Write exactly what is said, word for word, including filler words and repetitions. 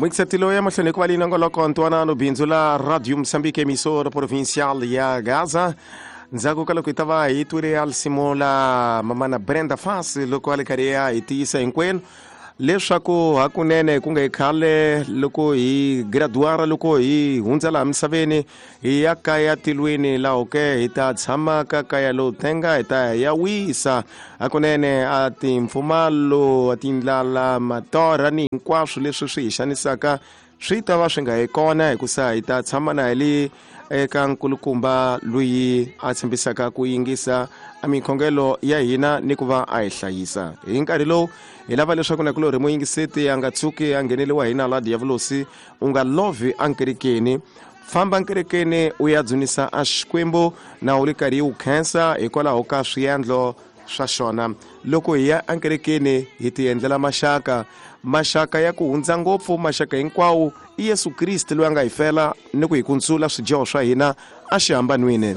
Mwingiseti loyi emahlweni hikuva leyi nongoloko ntwanano bindzu la Radio Mozambique, emissora provincial ya Gaza. Ndzhaku ka loko hi ta va hi twile ya risimu la mamana Brenda Fassie, loko a le karhi ya hi tiyisa hinkwenu leswaku hakunene ku nga hi khale loko hi graduara, loko hi hundza laha misaveni hi ya kaya tilweni, laho ke hi ta tshama ka kaya lowu tenga, hi ta ya wisa hakunene. A timpfumalo, a tindlala, matorha ni hinkwaswo leswi swi hi xanisaka swi ta va swi nga hi kona, hikusa hi ta tshama na hi le eka nkulukumba loyi a tshembisaka ku yingisa a mikhongelo ya hina ni ku va a hi hlayisa hi nkarhi lowu. Hi lava leswaku nakulorhi muyingiseti a nga tshuki a ngheneliwa hi nala diyavulosi. U nga lovhi ankerekeni, famba nkerekeni u ya dzunisa a Xikwembu na u ri karhi u khensa hikwalaho ka swiendlo swa xona. Loko hi ya ankerekeni hi ti endlela maxaka, maxaka ya ku hundza ngopfu maxaka hinkwawo i Yesu Kriste loyi a nga hi fela ni ku hi kuntsula swidyoho swa hina a xihambanweni.